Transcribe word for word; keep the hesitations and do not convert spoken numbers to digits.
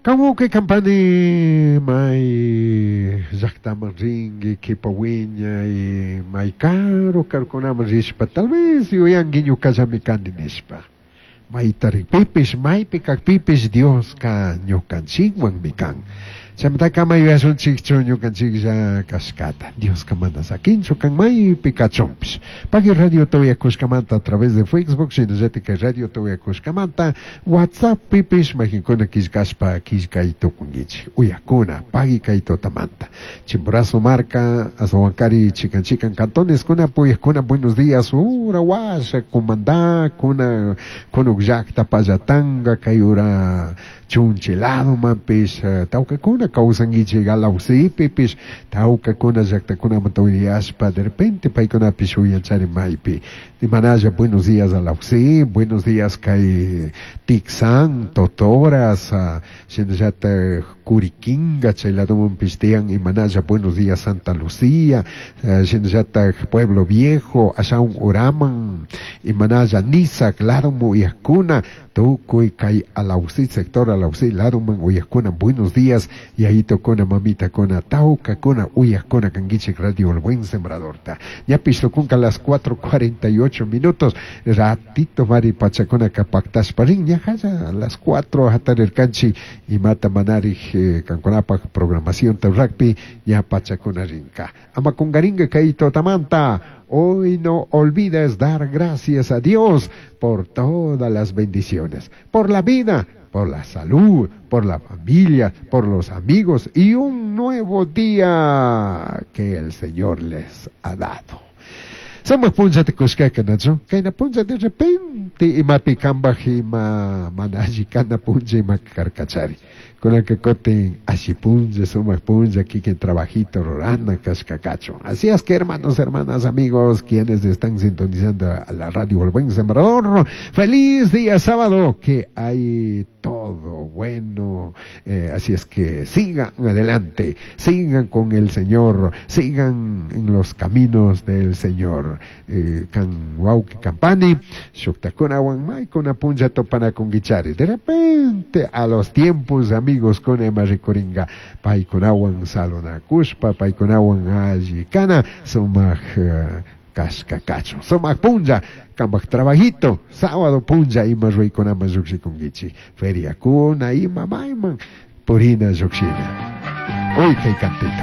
Kamuke kampani may llaqtaman rinki qhipa wiñay may karu karukunaman rishpa tal vez yuyanki ñuqallami kani nishpa mayta rikpipish maypi kakpipish Dioska ñukanchikwanmi kan chaymantaka ama yuyashunchikchu ñukanchiklla kashkata Dioska mana sakinchu kan maypi kachunpish pagui radiota uyakushkamanta a través de Facebook shinallatik kay radiota uyakushkamanta WhatsApppipish mayqinkuna killkashpa killkay tukunkichik uyakuna pagui kay tutamanta Chimborazo marka Azahuancari chikan chikan cantoneskuna uyakuna buenos días ura washa Cumandá kuna kunuk llaqta Pallatanga kay ura Chunchi ladomanpish tawkakuna kawsankichik Alausipipish tawkakuna llaqtakunamanta uyashpa de repente paykunapish uyanchari maypi imanalla buenos días Alausí buenos días kay Tixán Totoras shinallatak Curiquinga chay ladomanpish tiyan imanalla buenos días Santa Lucía shinallatak Pueblo Viejo ashawan uraman imanalla Nisak ladoman uyakuna tukuy kay Alausí sector Alausí ladoman uyakuna buenos días yayitukuna mamitakuna tawkakuna uyakuna kankichik radio El Buen Sembradorta ñapish tukunka las cuatro cuarenta y ocho minutos ratito mari pachakunaka paktashpa rin ñajalla a las cuatro hatarirkanchik imata manarik eh, kankunapak programación rurakpi ña pachakuna rinka ama kungarinka kay tutamanta. Hoy no olvides dar gracias a Dios por todas las bendiciones, por la vida, por la salud, por la familia, por los amigos y un nuevo día que el Señor les ha dado. Sumak punllata kushkaka nachu kayna punlla de repente imapi kambaj ima mana alli kana punlla ima karkachari kunanka kutin alli punlla sumak punlla kikin trabajito rurana kashka kachun. Así es que hermanos, hermanas, amigos, quienes están sintonizando a la radio El Buen Sembrador, feliz día sábado, que hay todo bueno. Eh, así es que sigan adelante, sigan con el Señor, sigan en los caminos del Señor. Eh, kan wawqi kampani, shuktakunawan maykuna punlla tupanakunkichari. De repente, a los tiempos, amigos, con ima rikuringa, paykunawan saludakushpa, paykunawan alli kana, sumak uh, kashka kachun. Sumak punlla, kambaj trabajito, sábado punlla ima ruraykunaman llukshikunkichik. Feriakuna ima mayman purina llukshina. Uy, kay cantito.